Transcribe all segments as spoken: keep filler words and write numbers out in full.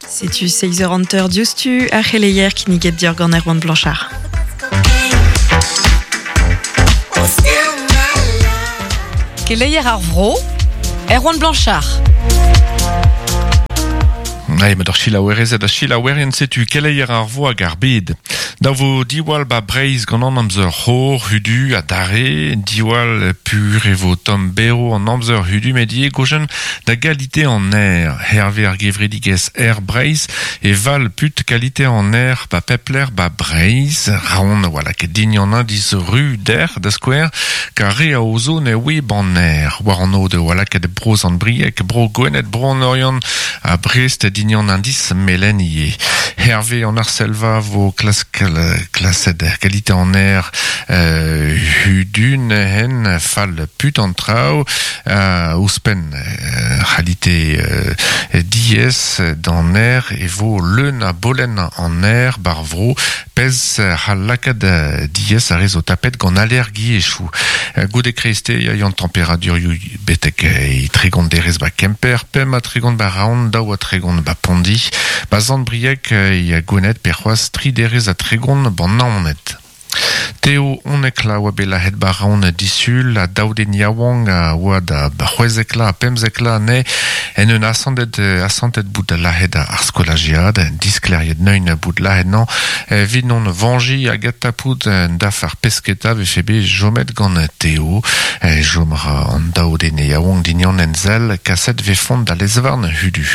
Setu seizh eur hanter diouzhtu ar c'heleier kinniget dior gant Erwan Blanchard. Keleier ar vro, Erwan Blanchard. Ai, met ar chilaouerezed a chilaouerien setu keleier ar vo hag ar bed. Da vo diwall ba Breizh gant an amzer c'hor, hudu ha dare, diwall pur e vo tom bero an amzer hudu medie gojen da galite an aer. Hervé ar gevredigez Air Breizh e val put kalite an aer ba pepler ba Breizh, raon wala ket dign an indiz ru der da skouer, ka re a ozo ne oe ban aer. War an ode wala ket broz an briek, bro Gwened, bro an Oriant, a Brest dign an indiz melen ie. Hervé an Arselva vo klask klaset kalite an aer euh, hudun hen fall put an trao euh, ouspen euh, c'halite euh, diez d'an aer e vo leun a bolen an aer bar vro pez c'hall lakaat diez a rez o tapet gant allergi e chou. Goude kreiste ya yon temperadur ioù betek e tregont derez ba Kemper, pem a tregont ba Raon, daou a tregont ba Pondi, ba Zandbriek ya Gwened pe c'hoaz tri derez a tregont ban Naoned. Teo onek la oa bet lahet ba Raon disul, a daouden yaouank a oa da c'hwezek la, pemzek la ne, en un asantet, asantet bout da lahet ar skolajiad, diskleriet neun bout lahet nan, evit non vanji a gatapout daf ar pesketa vefe bet jomet gant Teo, jomra an daouden yaouank dignan enzel, kaset vefont da lezvarn hudu.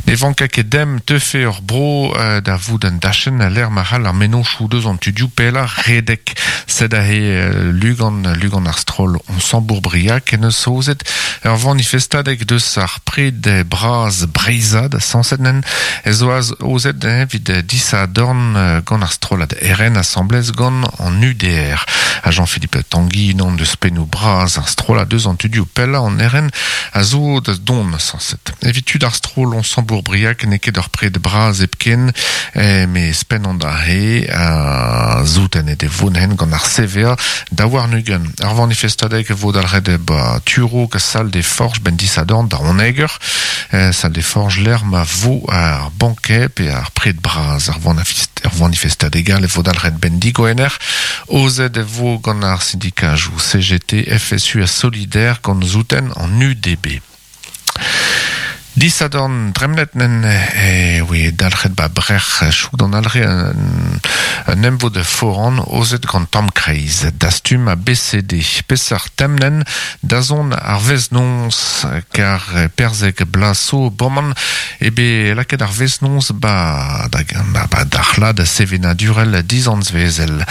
Ne vanka ket dem teufe ur bro euh, da vout an dachen a l'er mahal ar menon choudeuz an tudioù pella redek. Sed a he euh, lugan, lugan ar stroll on sambour-briak en eus ozet ur vanifestadek deus ar pred braz breizad sanset nen ez oaz ozet evit disa dorn gant ar strollad R N assemblez gant an U D R. A Jean-Philippe Tanguy non deus pennou braz ar strollad deus an tudioù pella an R N a zo da don sanset. Evit tud ar stroll on sambour-briak n'eo ket ur pred braz hepken, eh, me spen an da he a zouten e de vonen gant ar C V A da war nugen. Ar vanifestadek vo dalret ba Turo ka sal de forge ben disadorn da oneger, eh, sal de forge l'er ma vo ar banquet pe ar pred braz ar vanifest, ar vanifestadek al e vo dalret ben digoener, ozet e vo gant ar syndikaj ou C G T, F S U a Solidaire gant zouten an U D B. Disadorn dremnet nen e oe dalc'het ba brec'h chouk d'an alre un, un emvo de foran ozet gant tamm kreiz dastum a B C D pesar temnen dazon ar veznons kar perzek blaso boman ebe laket ar veznons ba da, ba, ba d'arc'hlad sevenadurel dizanz vezel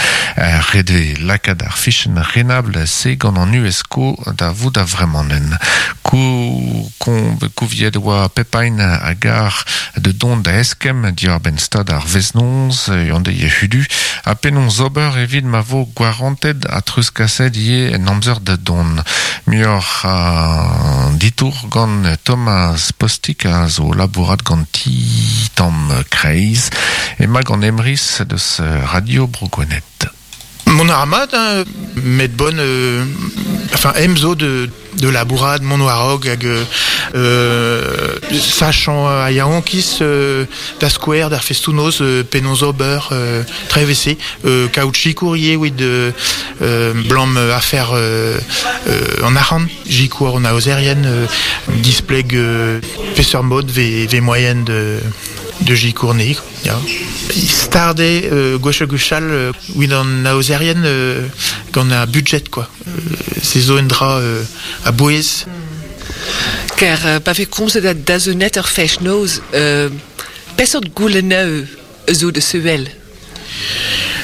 rede lakat ar fichen renabl se gant an U S C O da vout a vremanen kou kon kouviet oa Pepain a gar de don da eskem diar ben stad ar veznons yande ye hudu a penons ober evit ma vo gwaranted a truskaset ye en amzer da don mior a ditour gant Thomas Postik a zo labourat gant ti tamm kreiz e ma gant Emrys deus Radio Bro Gwened. Mon armad, hein, met bon, euh, enfin, emzo de, de labourad, mon oarog, hag, euh, sachant a yaonkis, euh, da square, d'ar festounoz, euh, penons ober, euh, trevese, euh, kaout courrier, oui, de, euh, blam affaire, euh, euh, en aran, jikour en aozerien, euh, displeg, euh, peseur mode, v, v moyenne de, de jikourne, ya. Starde, euh, gwech gwechal, euh, wid an aozerien, euh, gant a budget, quoi. Euh, se zo un dra, euh, a bouez. Ker, euh, pa ve komzet da dazonet ur fech noz, euh, pesort gouleneu zo de sevel?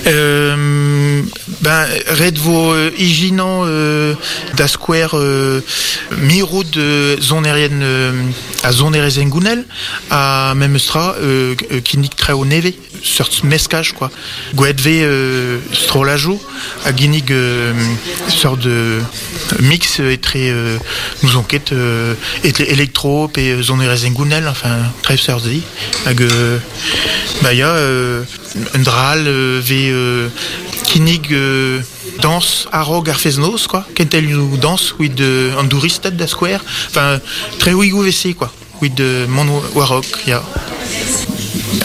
Euh, ben, red vo, euh, ijinan, euh, da square, euh, mirout de zonerien, euh, a zonerezen gounel, a même stra, euh, kinnik treo neve, sort meskaj, quoi. Gouet ve, euh, strolajou, a ginnig, euh, sort de mix etre, euh, nous enquête, euh, etre électro pe zonerezen gounel, enfin, trev sort zi. Hag, euh, bah, ya, euh, un dral, euh, ve, euh, kinnig, euh, danse arog ar feznoz, quoi. Kentel nou danse, oui, de, an douristed da square. Enfin, tre ouigou vese, quoi. Wit de mont warok, ya.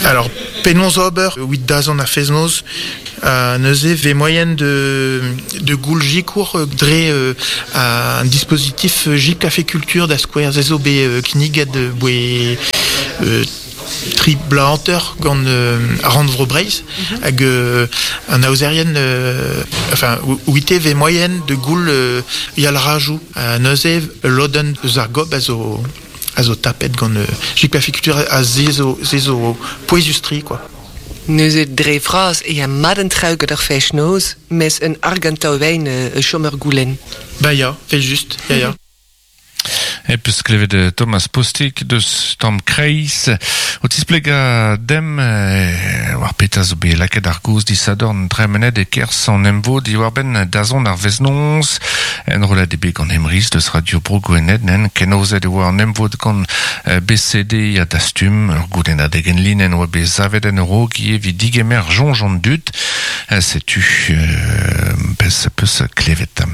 Alors, penaos ober wit dazont ar fest-noz, euh, neuze ve moyen de, de goul jikour dre euh, un dispositif J Café Culture da skouer ze zo bet euh, kinniget boe euh, tri bla hanter gant euh, Rannvro Breizh hag euh, an aozerien euh, enfin wite ve moyen de goul euh, yal rajou euh, neuze lodenn eus ar gob a zo a zo tapet gant euh, J Café Culture a ze zo, ze zo pouezustri quoi. Neuze dre vras e a maden trauget ar fest-noz, mes un argantao wijn uh, chommer goulen. Ba ya, fait juste, ya ya. E peus klevet Thomas Postic deus Tom Kreiz o tisplega dem eh, war peta zo bet lakaet ar goz disadorn tremenet e kerz an emvod diwar-benn dazont ar veznons en rollad eo bet gant Emriz deus Radio Bro Gwened nen kenozet e oa an emvod gant B C D a dastum ur goulennadeg en linenn oa bet savet en ur evit digemer soñj an dud setu euh, pez peus klevet.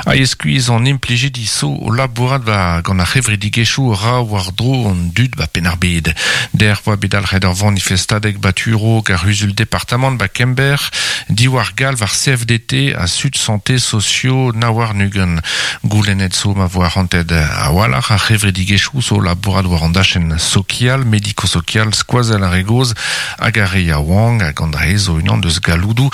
A eskuiz an implijidi so o labourat ba gant ar c'hevredigezhioù ra war dro an dud ba Penn-ar-Bed. Der oa bet dalc'het ar vanifestadeg baturo ar c'huzul departamant ba Kember, diwar galv ar C F D T a Sud Santé Socio Nawar Nugen. Goulennet zo ma voa ranted a-walc'h ar c'hevredigezhioù zo labourat war an dachenn sokial, mediko-sokial, skoazell ar re gozh hag ar re yaouank hag an dre zo unan deus galloudoù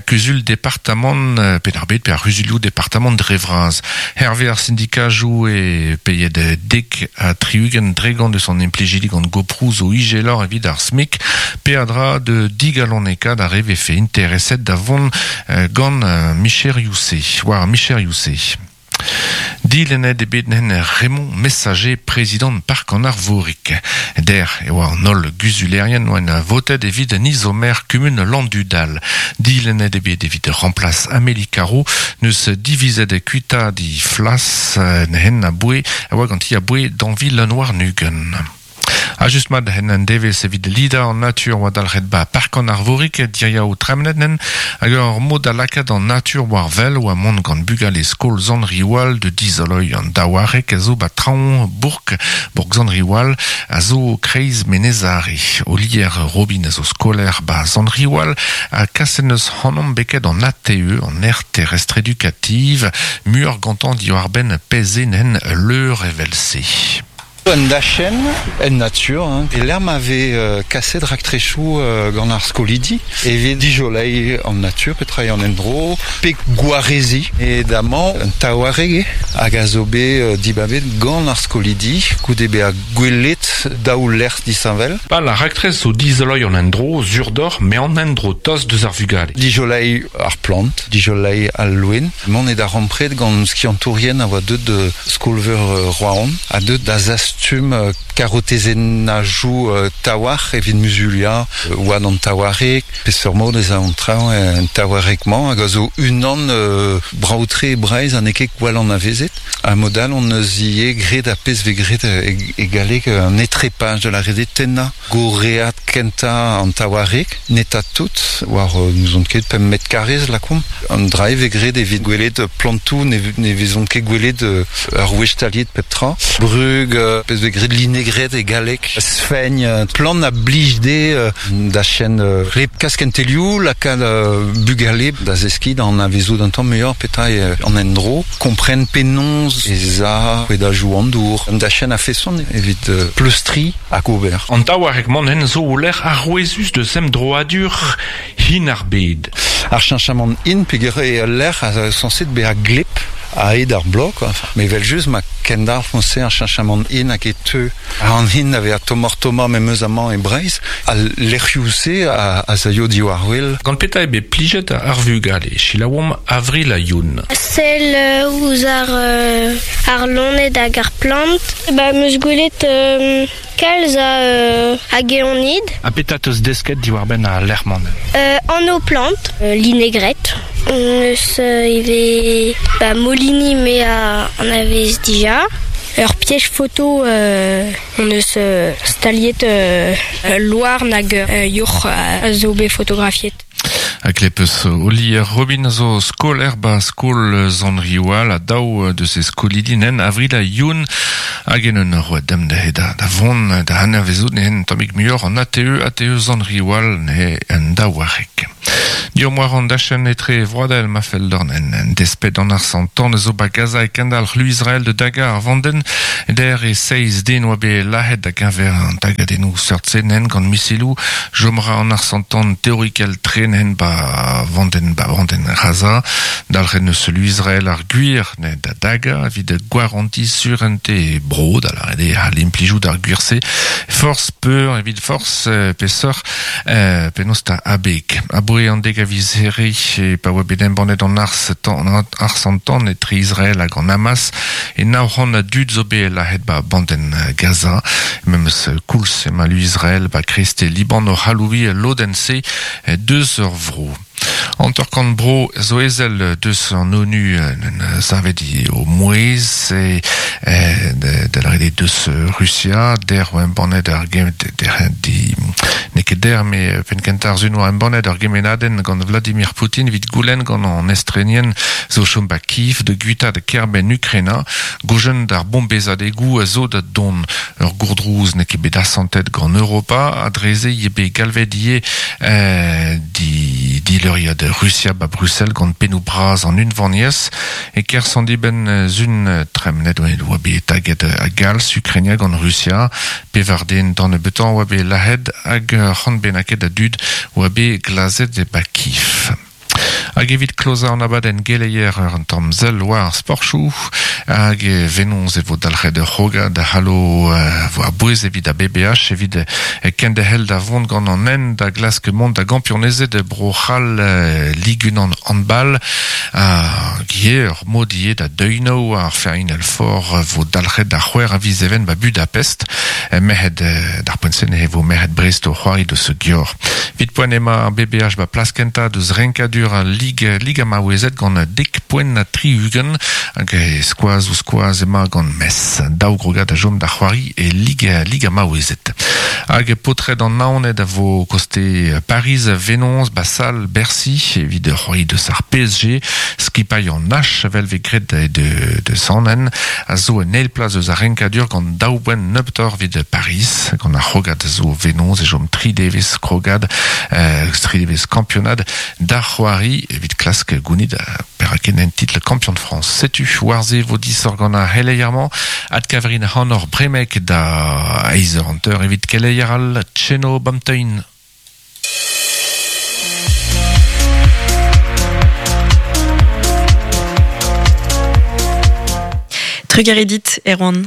kuzul departamant Penn-ar-Bed pe ar c'huzulioù departamant dre vras. Hervé ar syndikajoù e peiet dek a triugent dregant deus an implijidi gant goprou zo igelor evit ar SMIC peadra de digaloneka da re vefe intereset da vont gant Michel Yousé. War Michel Yousé. Dilennet eo bet nen Raymond Messager, prezidant Park an Arvorik. Der e oa an holl guzulerien oa en votet evit an izomer kumun Landudal. Dilennet eo bet evit remplace Amélie Caro, neus divizet kuita di flas nehen a boe, a oa ganti a boe d'anvi Lenoir Nugen. A just mat hen an devez evit lida an natur oa dalc'het ba Park an Arvorik diria o tremnet nen hag ur mod da lakaat an natur war vel oa mont gant bugale skol Zan-Riwal de dizoloi an daouarek a zo ba traoñ bourg bourg Zan-Riwal a zo kreiz Menezare. Olier Robin a zo skoler ba Zan-Riwal a kaset neus hanomp beket an A T E an aire terrestre éducative muur gantan diwar benn peze nen leur evel-se. Un dachen, en nature, hein. E l'erm avait euh, kaset raktrechou euh, gant ar skolidi, evet dijolei en nature, petra en endro, pe gwarezi, e damañ un taouareg hag a zo bet euh, dibabet gant ar skolidi, goude be a gwelet daou lec'h disheñvel. Pa la raktrez zo dizoloi an endro, zurdor, me an endro tost deus ar vugale. Dijolei ar plant, dijolei al loen. Mont e da rampret gant skiantourien a oa deut de skolveur euh, Rouen, a deut da zas tum karotezenajou tawar evit muzulia oan an tawarek peseurt mod ez a an traoñ en tawarekmañ hag a zo unan euh, braoutre e Breizh an eket gwall an avezet a modal on eus ie gret a pezh ve gret e galleg un etrepaj de la rede tenna goreat kenta an tawarek neta tout war nous on ket pemp metr karrez lakomp an dra ve gret evit gwelet plantoù ne, ne vezont ket gwelet ur wech taliet pep tra brug pezh ve gret linegret e galleg sfegn plan a blij de da chen rep kaskentelioù lakaat bugale da zeski d'an avezou d'un tamm muioc'h petra an endro kompren penaos ez a e da jou an dour da chen a feson evit pleustri hag ober. An taouarek man hen zo o lec'h arouezus de sem droadur hin ar bed. Ar cheñchamant hin peogwir e lec'h a sañset bezañ gleb a ed ar blok, enfin. Mais vel just ma kendalc'h foñse ar cheñchamant hin hag e teu an hin a tomor toma memeus amañ e Breizh al lec'hioù-se a, a zaio diwar wel. Gant petra eo bet plijet ar vugale, selaouomp Avril a Youn. Sell ouzh ar, euh, ar loened hag ar plant. Ba, meus gwelet euh, kalz a, euh, hag eonid. Ha petra teus desket diwar-benn ar lec'h-mañ? Euh, an o plant, euh, linegret. Eus euh, ivez ba, Molini me a an avez dija. Ur piège photo euh, on eus euh, staliet euh, loar nag euh, yourc'h a zo bet fotografiet. A klepes Oli Robin zo skol erba skol zan riwal a daou de se skolidinen avril a youn hag en un roa dem da da, da von da hanner vezout nehen tammik muioc'h an A T E A T E zan riwal ne en daouarek. Diom war an dachen etre vroadel ma fell dorn en, en despet an ar santan zo ba Gaza e kendal c'hlu Israel de daga ar vanden der e seiz den oa be lahet da genver an tagadennou seurt nen gant misilou jomra an ar santan teorikel trenen ba vanden ba vanden Gaza dalc'hen eus lu Israel ar gwir ne da daga evit gwaranti surente bro da la rede ha l'implijou d'ar gwir-se force peur evit force peseur euh, penaos ta abeg aboe an deg a viz here e pa oa bet embannet an ars tan ar santan etre Israel hag an Hamas e nav c'hant a dud zo bet lahet ba banden Gaza memes koulz ema lu Israel ba kreste Liban o c'halouvi lodenn-se deus ur vro. An torkant bro zo ezel deus an ONU savet o mouez e de la rede deus Russia der oa embannet ar gem der di n'eo ket der me penn kentañ ar sun oa embannet ar gemenadenn gant Vladimir Poutine evit goulenn gant an estrenien zo chom ba Kiev de gwita de kerbenn Ukraina gojen d'ar bombezadegoù a zo da don ur gourdrouz n'eo ket bet asantet gant Europa adreze eo bet galvet ivez eh, di di leuriad Russia ba Bruxelles gant pennoù bras an unvaniez e kerzh an dibenn zun tremnet oa bet taget a galz Ukrainia gant Russia pevar den d'an nebeutañ oa bet lahet hag c'hant bennaket a dud oa bet glazet e ba Kiev. Hag evit kloza an abadenn geleier ur an tamm sell war ar sportchoù hag e venoz e vo dalc'het ur c'hrogad da c'hallo vo ar bouez evit a B B H evit kenderc'hel da vont gant an hent da glask mont da gampionezed Bro-C'hall Ligue unan handball hag ivez ur mod ivez da deuino ar Final Four vo dalc'het da c'hwec'h a viz even ba Budapest merc'hed d'ar poent-se e vo merc'hed Brest o c'hoari deus Gior. Vit poent ema ar B B H ba plas kentañ deus renkadur al Ligue Liga maouezet gant dek poent na tri ugent hag e skoaz ou skoaz ema gant Metz daou grogad a jom da c'hoari e Liga Liga maouezet hag potred an Naoned a vo koste Paris Venoz Basal Bercy evit c'hoari deus ar P S G skipailh an H vel vez graet de, de, de Sannen a zo en eil plas eus ar renkadur gant daou boent nebeutoc'h evit Paris gant ar c'hrogad zo Venoz e jom tri devezh krogad euh, tri devezh kampionad da c'hoari evit klask gounid peraken en title kampion de France. Setu war-se vo disoc'h gant ar c'heleier-mañ ad kaverin hanor bremek da eizh eur hanter evit keleier al Tcheno Bamtein. Trugaredit, Erwan.